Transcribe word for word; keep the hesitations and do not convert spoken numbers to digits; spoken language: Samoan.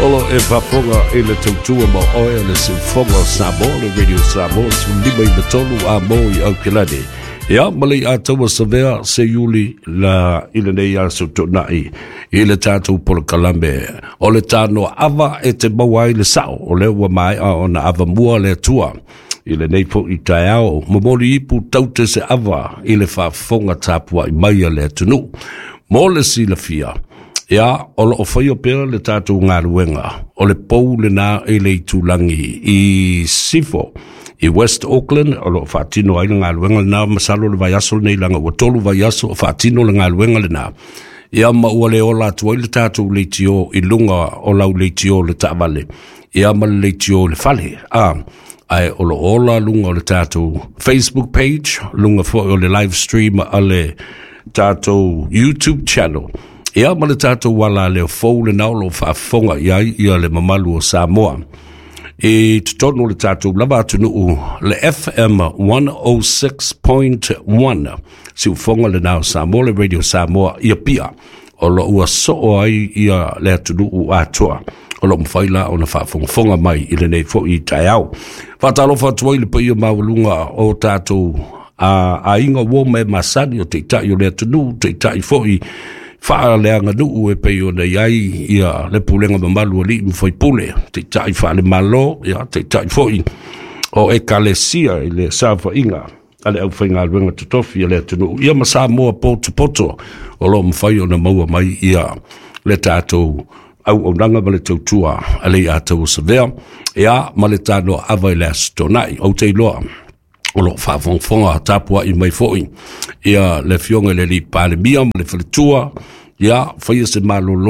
Olo e faafofoga i le tautua ma oe o le siufofoga o Samoa, le Radio Samoa, sefululima i tolu a mo i Aukilani. Ia, ma le Ataua Savea se iuli la i lenei aso toonai i le tatou polokalame o le tanoa ava e te maua ai le sao o lea ua maea ona avamua le Atua. I lenei fo'i taeao, momoli ipu taute se ava i le faafofoga tapuai mai a le atunuu. Mo le silafia, ia, o loo faia pea le tatou galuega o le pou lena i le itulagi i Sifo i West Auckland o loo faatino ai le galuega lena. Masalo le vaiaso lenei, laga ua tolu vaiaso o faatino le galuega lena. Ia, ma ua le ola atu ai le tatou leitio i luga o lau leitio le taavale, ia, ma le leitio le fale a ae o lo ola luga o le tatou Facebook page, luga foi o le live stream a le tatou YouTube channel, ia, ma le tatou ala leo fou lena o lo faafofoga i ai ia le mamalu o Samoa i totonu o le tatou lava atunuu, le F M one oh six point one, siufofoga lena o Samoa, le Radio Samoa ia pia o lo ua soo ai ia le atunuu atoa o lo mafai la ona faafogafoga mai i lenei fo'i taeao. Faatalofa atu ai le paia maualuga o tatou a aiga ua ma e masani o taitai o le atunuu, taitai fo'i faaleaganuu e pei ona i ai ia le pulega mamalu a alii ma faipule, taitai faale-Malo, ia, taitai fo'i o ekalesia i le saofaiga a le aufaigaluega totofi a le atunuu, ia, ma Samoa potopoto o lo mafai ona maua mai ia le tatou auaunaga ma le tautua a le Ataua Savea, ia, ma le tanoa ava i le aso Toonai. Ou te iloa o lo o faafogafoga tapuai mai foi ia le afioga i le alii Palemia ma le faletua, ia faia se malolo.